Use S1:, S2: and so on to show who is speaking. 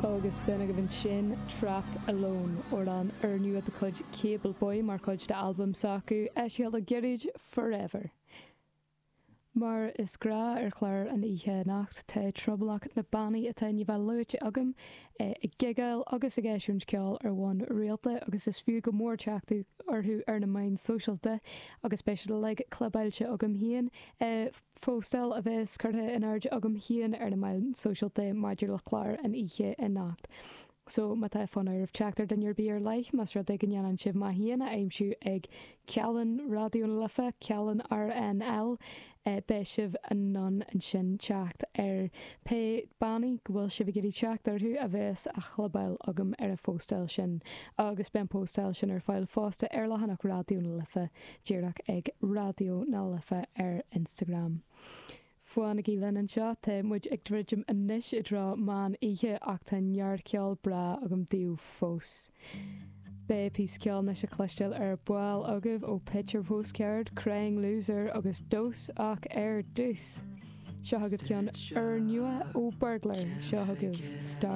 S1: Agus b'in agaibh ansin Trapped Alone, amhrán úrnua de chuid Cable Boy mar chuid d'albam s'acu, eisithe le gairid, Forever. Mar is gnáth ar chlár an oíche anocht, tá tromlach na bannaí atá i ndiaidh bheith luaite agam ag gigeáil agus ag eisiúint ceoil ar bhonn rialta agus is fiú go mór teacht orthu ar na meáin sóisialta agus beidh siad uilig clibeáilte agam féin i phóstáil a bheas curtha in airde agam féin ar na meáin sóisialta maidir le clár an oíche anocht. So, má tá fonn oraibh teacht ar duine ar bith ar leith, más rud é go ndéanann sibh mé féin a aimsiú ag Cealann Raidió na Life, Cealann RNL, beidh sibh in ann ansin teacht ar pé bannaí go bhfuil sibh ag iarraidh teacht orthu a bheas á chlibeáil agam ar an phóstáil sin. Agus beidh an phóstáil sin ar fáil fosta ar leathanach Raidió na Life, díreach ag Raidió na Life ar Instagram. Fanaigí linn anseo, tá muid ag druidim anois i dtreo meán oíche ach tá neart ceol breá agam daoibh fós. Beidh píosa ceoil anois le cloisteáil ar ball agaibh ó Picture Postcard, Crying Loser agus Dose ach ar dtús, seo chugaibh ceann úrnua ó Burglar, seo chugaibh Star.